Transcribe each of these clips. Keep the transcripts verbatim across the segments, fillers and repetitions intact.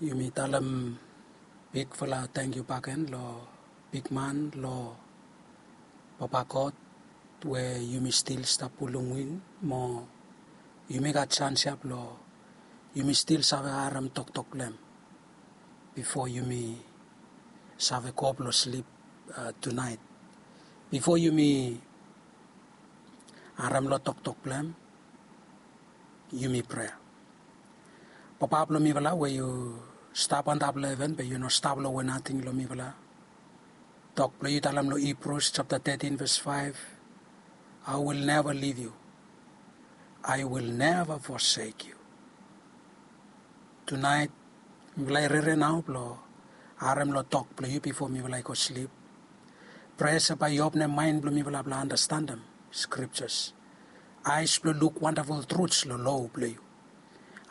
Yumi talem bigfala tangkiu bakegen lo bigman, lo Papa God, we yumi stil stap pulum win mo yumi gat sans ya blo yumi stil save harem toktok blong hem bifo yumi save go blo slip, uh, tunaet. Bifo yumi harem lo toktok blong hem, yumi prea. Papa blo mifala we yu stap antap lo heven, be yu no stap lo we nating lo mifala. Tok blo yu talem lo Hebrews chapter thirteen verse five, "I will never leave you. I will never forsake you." Tunaet mifala i rere nao blo harem lo tok blo yu bifo mifala i go slip. Prea se bae i openem maen blo mifala blo anastandem scriptures, aes blo luk wandaful truts lo lo blo yu.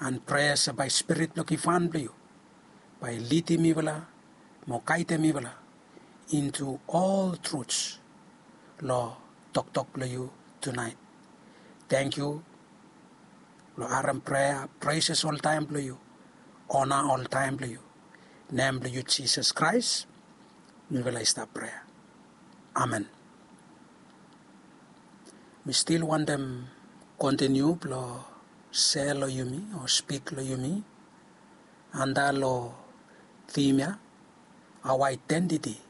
An prea se bae Spirit blo givhan blo yu bae i lidim mifala mo gaedem mifala into all truths lo toktok blo yu tunaet. Tangkiu lo harem prea, praises oltaem blo yu, ona oltaem blo yu. Nem blo yu Jisas Kraes mifala i stap prea. Amen. Mi stil wantem kontiniu blo sea lo yumi o spik lo yumi antap lo tim ya, our identity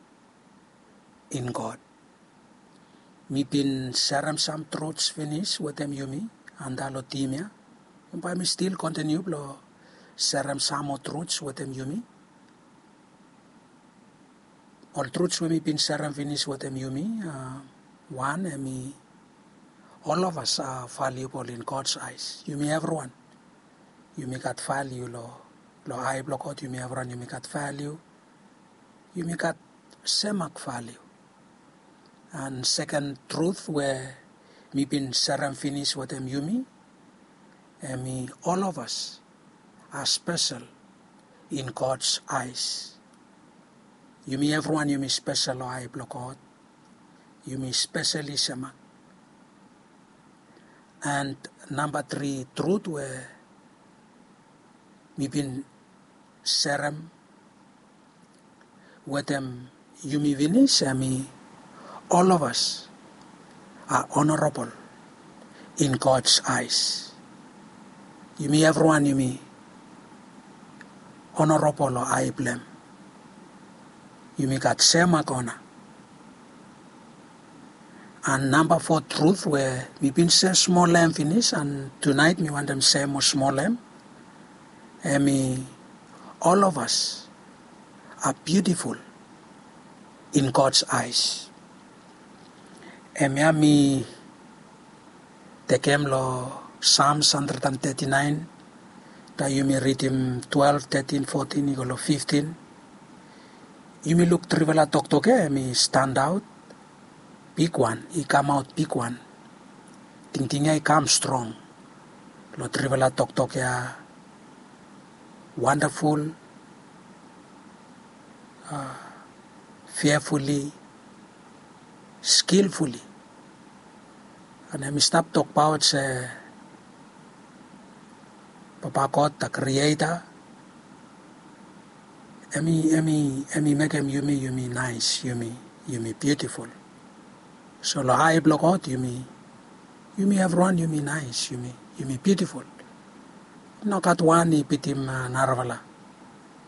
in God. Mi bin serem sam truts finis wetem yumi antap lo tim ya. Bae mi stil kontiniu blo serem sam moa truts wetem yumi. Ol truts we mi bin serem finis wetem yumi, uh, wan hemi, all of us are valuable in God's eyes. Yumi evriwan yumi gat valiu lo, lo ae blo God. Yumi evriwan yumi gat valiu. Yumi gat semak valiu. An seken trut we mi bin serem finis wetem yumi, hemi, all of us are special in God's eyes. Yumi evriwan yumi spesel lo ae blo God. Yumi speseli semak. An namba tri trut we mi bin serem wetem yumi finis hemi, all of us are honorable in God's eyes. Yumi evriwan yumi honorable lo ae blo hem. Yumi gat semak ona. An namba fo trut we mi bin sea smol lo hem finis, an tunaet mi wantem sea moa smol lo hem, hemi, all of us are beautiful in God's eyes. Hemia mi tekem lo Psalms hundred and thirty-nine, taem yumi ridim twelve, thirteen, fourteen i go lo fifteen. Yumi luk trifala toktok ya hemi standaot bigwan, i kamaot bigwan. Tingting ya i kam strong lo trifala toktok ya. Wonderful, uh, fearfully, skillfully. An hemi stap tokbaot se Papa God, the Creator, hemi, hemi, hemi mekem yumi, yumi naes, yumi, yumi biutiful. So lo ae blo God yumi, yumi evriwan yumi naes, yumi, yumi biutiful. Nogat wan i bitim, uh, narafala.